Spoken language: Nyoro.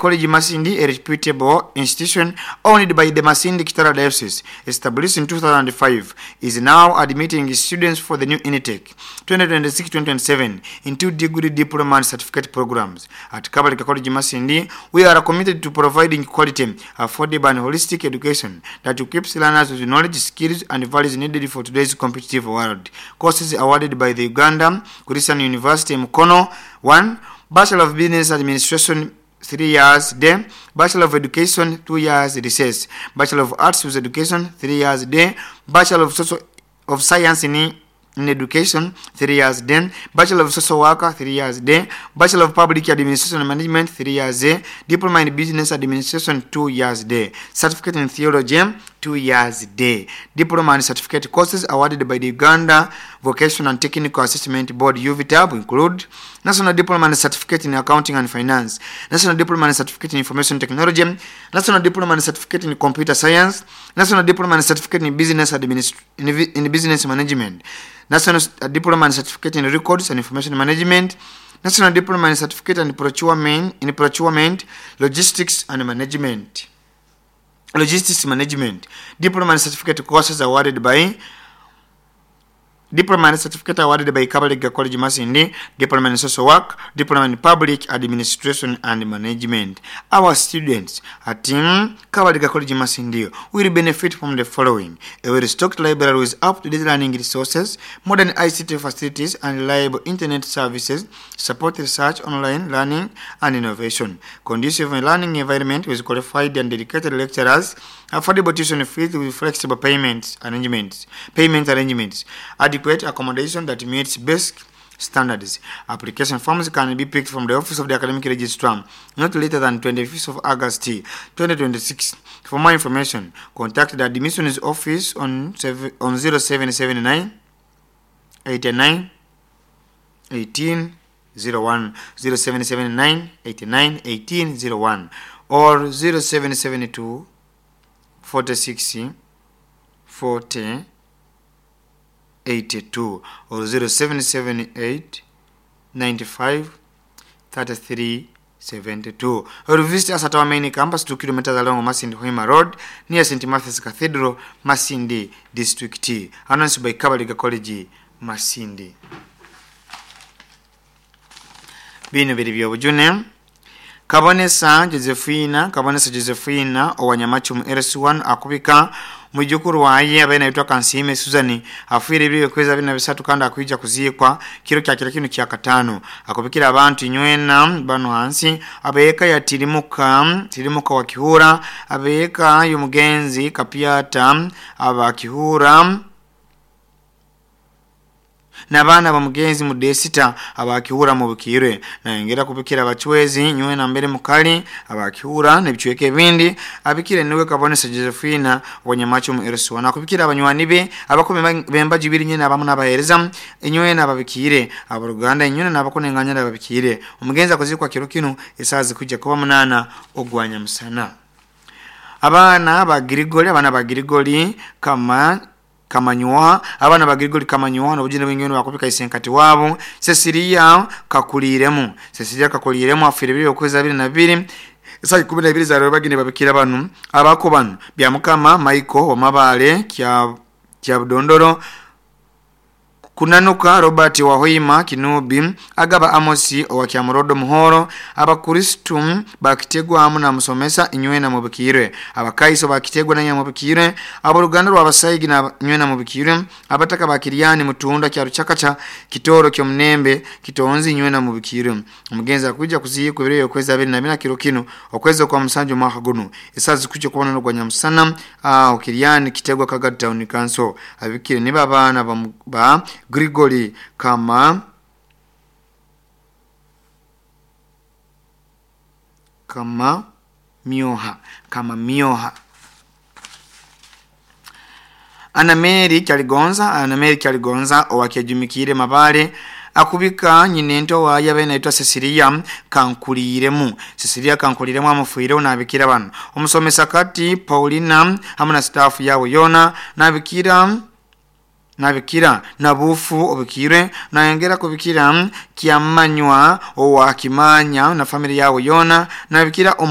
College Masindi, a reputable institution owned by the Masindi Kitara Diocese, established in 2005, is now admitting students for the new intake 2026-2027 into degree, diploma and certificate programs. At Kabalega College Masindi, we are committed to providing quality, affordable and holistic education that equips learners with knowledge, skills and values needed for today's competitive world. Courses awarded by the Uganda Christian University Mukono: 1. Bachelor of Business Administration, 3 years day; Bachelor of Education, 2 years recess; Bachelor of Arts with Education, 3 years day; Bachelor of Social of Science in Education, 3 years day; Bachelor of Social Worker, 3 years day; Bachelor of Public Administration and Management, 3 years day; Diploma in Business Administration, 2 years day; Certificate in Theology, 2 years day. Diploma and certificate courses awarded by the Uganda Vocational and Technical Assessment Board, UVTAB, include National Diploma and Certificate in Accounting and Finance, National Diploma and Certificate in Information Technology, National Diploma and Certificate in Computer Science, National Diploma and Certificate in Business in Business Management, National Diploma and Certificate in Records and Information Management, National Diploma and Certificate in Procurement, Logistics and Management. Logistics Management. Diploma and certificate courses awarded by Diploma and certificate awarded by Kabalega College Masindi: Diploma in Social Work, Diploma in Public Administration and Management. Our students at Kabalega College Masindi will benefit from the following: a well-stocked library with up-to-date learning resources, modern ICT facilities and reliable internet services, support research, online learning and innovation, conducive learning environment with qualified and dedicated lecturers, affordable tuition fees with flexible payment arrangements, adequate accommodation that meets basic standards. Application forms can be picked from the office of the academic registrar not later than 25th of August 2026. For more information, contact the admissions office on 0779 89 18 01, 0779 89 18 01 or 0772 46 40 82 or 0778 95 33 72, or visit us at our main campus, 2 kilometers along Masindi Hoima Road, near St. Matthew's Cathedral, Masindi District. Announced by Kabalega College Masindi. Bino biri byobujune. Kabonesa Josephina, Kabonesa Josephina owanyamachumu LC1 akubika mwijukuru waye abaye naitwa Kansime Susan, afiire ebiro okwezi 23 kandi akwija kuziikwa kiro kya kiro kino kya katano. Akubikira abantu inywena bano hansi: abeeka ya Tirimuka, Tirimuka wa Kihura, abeeka y'omugenzi Kapiata aba Kihura, n'abaana bamugenzi Mudesita abakihura mu Bukirwe. Nayongera kubikira abachwezi nywena mbere mukali abakihura n'ebicweka ebindi. Abikire niwe Kabonesa Josephina wanyamacho mu LC1. Akubikira abanywani be abakumi bembaji biri nyene abamu n'abahereza inywena ababikire, abaruganda inywena n'abakunenganya ababikire. Omugenzi akozikwa kiro kino esazi kujja kuba 8 ogwanya musana. Abaana ba Grigori, abaana ba Grigori kama Kamanywa, abaana ba Grigori Kamanywa n'obujune bw'engendo bakubika isenkati wabo Cecilia Kakuliremu. Cecilia Kakuliremu afiire bibiri okwezi 22 esaa 12 za bagine. Babikira banu abako banu bya Mukama Michael wamabale kya kya Budondoro, Kunanuka Robert Wahoima Kinubi, Agaba Amosi owa Kyamurodo Muhoro, Abakristu bakitegwa amu na musomesa inywena mubikirwe, Abakaiso bakitegwa nanya mubikirwe, aboluganda rw'abasaigi na nywena mubikirwe, abataka bakiriani Mutunda kya Ruchakacha Kitoro kyomunembe Kitonzi nywena mubikirwe. Omugenzi akuja kuziikwa ebiro okwezi 24 kiro kino okwezi kwa musanju mwaka guno esazi kujja kubona n'ogwa nyamusana aho Kiriani Kitegwa Kagadi Town Council. Abikire niba abaana ba Grigori kama mioha, kama mioha. Anameri Kyaligonza, Anameri Kyaligonza owakejumikire Mabale akubika nyinento waye abe naitwa Cecilia Kankuliremu. Cecilia Kankuliremu amufuire. Nabikira bano: omusomesa kati Paulina hamwe na staff yawe yona. Nabikira nabufu obikire. Nayongera kubikira Kyamanywa owa Kimanya na family yawe yona. Nabikira.